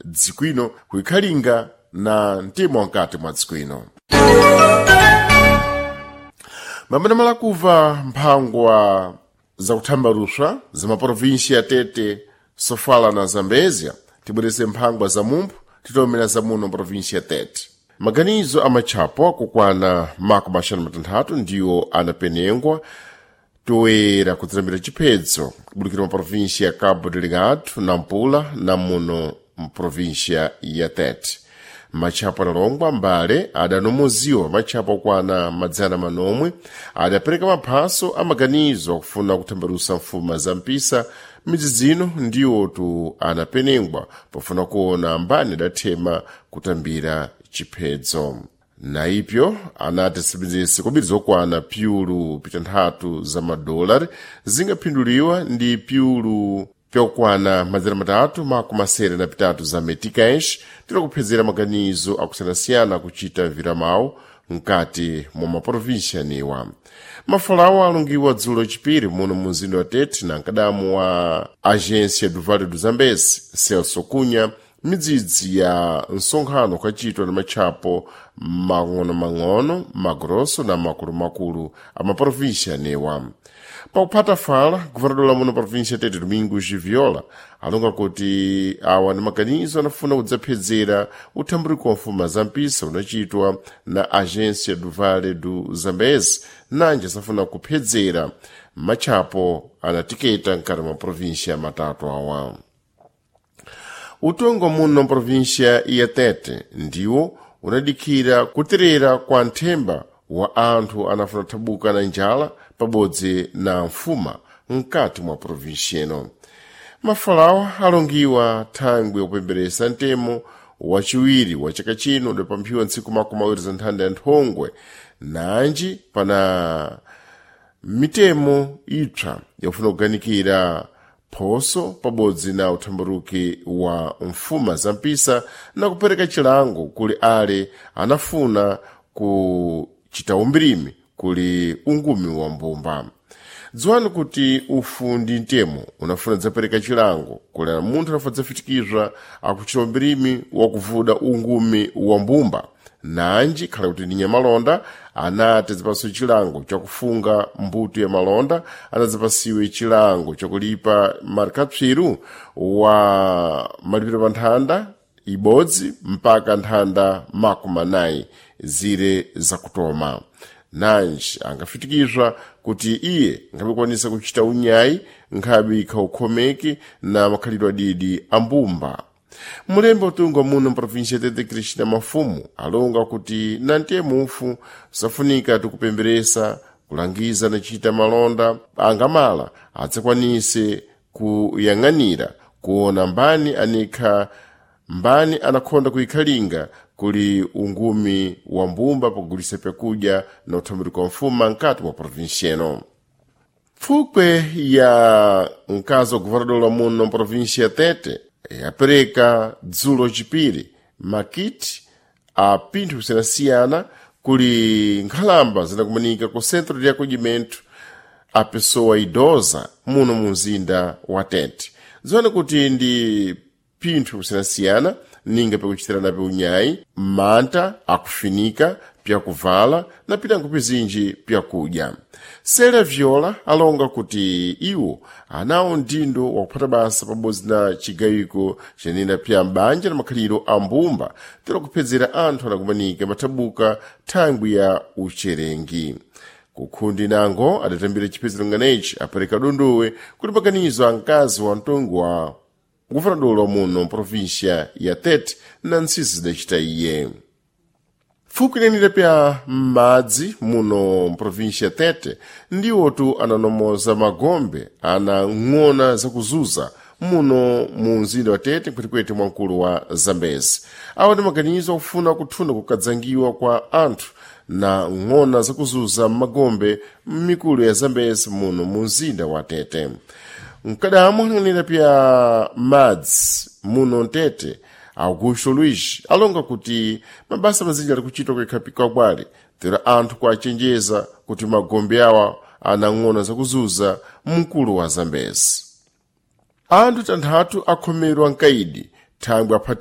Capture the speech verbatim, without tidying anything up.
dziko ino kuikhalinga na mtemo wankati mwa dziko ino. Mamenamala kuva mphangwa zakuthambaruswa za maprovinsi ya Tete, Sofala na Zambezia, tibwerese mphangwa za mumphu titomera za muno provinsi ya Tete. Maganizo amatchapo akukwana makumi axanu matanthatu ndiwo anapenengwa toera kudzilambira chiphedzo kubudikira maprovinsi ya Cabo Delgado, Nampula na muno mprovinsia ya Tete. Matchapo analongwa mbale adanomoziwa matchapo okwana madzana manomwe adapereka maphaso amaganizo akufuna kuthambalusa mfuma za mpisa midzi zino ndiwotu anapenengwa pofuna kuona mbani adathema kutambira chiphedzo. Naipyo anati sibzese kobiri zokwana piulu pitanthatu za madolari zingaphinduliwa ndi piulu pyakukwana madzana matatu makumi asere na pitatu za meticais tilakuphezera maganizo akusiyanasiyana kuchita viramawu mkati mwa maprovinsi anewa. Mafalawo alungiwa dzulo chipiri muno mu mzinda wa Tete na mkadamu wa agência do Vale do Zambeze, Celso Cunha, midzidzi ya msonkhano ukachitwa na matchapo mang'ono-mang'ono, magrosso na makulu-makulu a maprovinsi anewa. Pakuphata fala, governador la muno província Tete, Domingos Viola, alonga kuti awa ndi maganizo anafuna kudzaphedzera uthambuliko wa mfuma za mpisa unachitwa na agência do Vale do Zambeze, nanje asafuna kuphedzera matchapo anatiketa mkati mwa província matatu awa. Utongo muno mprovinsia ya Tete ndiwo unadikhira kuterera kwa nthemba wa anthu anafuna kuthabuka na njala pabodzi na mfuma mkati mwa provinsia ino. Mafalawa alongiwa thangwi yakupemberesa mtemo wachiwiri wa chaka chino udapamphiwa ntsiku makumi awiri za nthanda ya nthongwe nanji pana mitemo ipsa yakufuna kuganikira phoso pabodzi na uthambaruki wa mfuma za mpisa na kupereka chilango kuli ale anafuna kuchita umbirimi kuli ungumi wa mbumba. Dziwani kuti ufu ndi mtemo unafuna dzapereka chilango kuli munthu anafuna dzafitikizwa akuchita umbirimi wakuvuda ungumi wa mbumba, nanji khala kuti ndi nyamalonda anati azipasiwe chilango chakufunga mbuto ya malonda, anadzapasiwe chilango chakulipa marikapsiru wa malipiro pa nthanda ibodzi mpaka nthanda makumi anayi zire zakutoma. Nanji angafitikizwa kuti iye nkhabikwanisa kuchita unyayi nkhabi khaukhomeki na makhalidwe adidi a mbumba. Mulembe utunga muno mprovinsia Tete, Cristina Mafumu, alonga kuti na mtemo ufu safunika tikupemberesa kulangiza nachita malonda angamala adzakwanise kuyang'anira kuona mbani anikha mbani anakhonda kuikhalinga kuli ungumi wa mbumba pakugulisa pyakudya na uthambuliko wa mfuma mkati mwa provinsia ino. Pfukwe ya mkazi wa governador muno mprovinsia ya Tete yapereka dzulo chipiri makiti a pinthu kusiyanasiyana kuli nkhalamba zinakumanika ku centro de acolhimento a pessoa idosa muno mu mzinda wa Tete. Zione kuti ndi pinthu kusiyanasiyana ninga pyakuchitirana unyayi, manta akufinika, pyakuvala na pinango pizinji pyakudya. Sela Viola alonga kuti iwo anawo mdindo wakuphata basa pabodzi na chigayiko chanena pya m'banja na makhaliro a mbumba tero kuphedzera anthu anakumanika mathabuka thangwi ya ucherengi. Kukhundi nango adatambira chiphedzero nganechi apereka dondowe kuti maganizo a mkazi wa mtongo wa guvernador muno mprovinsia ya Tete na ntsisi zidacita iye. Pfuko inenera pya madzi muno mprovinsia ya Tete ndiwotu ananomoza magombe ana ng'ona zakuzuza muno mu mzinda wa Tete nkhwetikwete mwamkulu wa Zambezi. Awa ndi maganizo akufuna kuthuna kukadzangiwa kwa anthu na ng'ona zakuzuza m'magombe m'mikulu ya Zambezi muno mu mzinda wa Tete. Mkadamo ananena pya madzi muno mtete, Augusto Luiz, alonga kuti mabasa mazinji ali kuchitwa kuikhapika kwale tero anthu kuachenjeza kuti magombe awa anang'ona zakuzuza mkulu wa Zambezi. Anthu tanthatu akhomerwa mkaidi thangwi aphatiwa